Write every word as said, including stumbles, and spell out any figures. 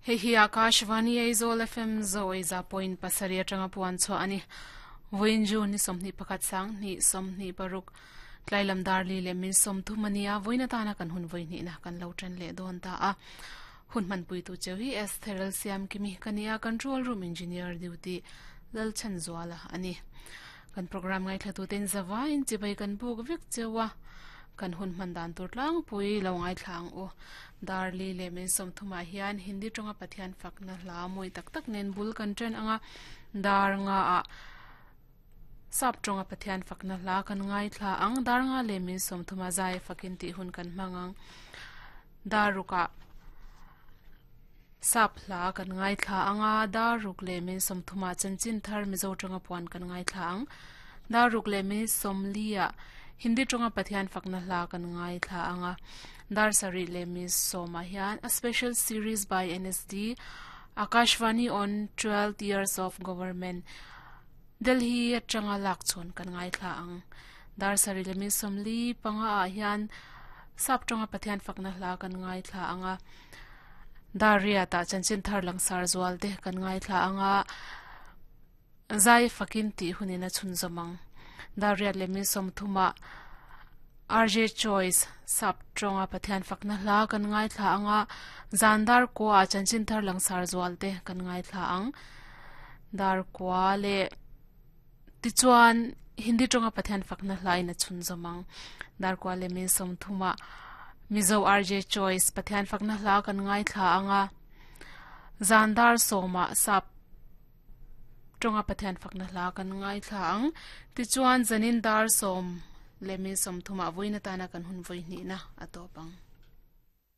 Hei hi Akashvani Aizawl F M zo za point pasarih atanga puan chhuah ani. Vawiin June ni sawmhnih pakhat sanghnih sawmhnih paruk tlailam dar li leh min sawmthum ania vawiin atana kan hun vawihnihna kan lo tan leh dawn ta a. Hun hmanpui tu cheu hi Esther Siam Kimi kania control room engineer duty Lalchan Zuala ani. Kan program ngai thlatu ten zawain chibai kan buk vek chewa kan hun hman dan tur tlang pui lo ngai thlang u darli le min sawmthuma hian Hindi tonga Pathian fakna hla moi tak tak nen bul kan chen anga dar nga a sap tonga Pathian fakna hla kan ngai thla ang dar nga le min sawmthuma zai fakin ti hun kan mangang daruka sap hla kan ngai thla anga daruk le min sawmthuma chanchin thar mizo tonga puan kan ngai thla ang daruk le min sawmlia Hindi tonga Pathian fakna hla kan ngai thla anga dar sari le mi soma hian a special series by N S D Akashvani on twelve years of government Delhi atanga lak chon kan ngai thla ang dar sari le mi somli panga a hian sap tonga Pathian fakna hla kan ngai thla anga daria ta chanchin thar langsar zual te kan ngai thla anga zai fakin ti hunina chun zomang daria le mi somthuma R J Choice sap tonga Pathian fakna hla kan ngai thla anga zandar ko a chanchin thar langsar zual te kan ngai thla ang dar kwa le tichuan Hindi tonga Pathian fakna hla ina chun zomang dar kwa le mi somthuma Mizo R J Choice Pathian fakna hla kan ngai thla anga zandar soma sap tonga Pathian fakna hla kan ngai thla ang tichuan zanin dar som lemi somthuma voina tana kan hun voihni na atopang.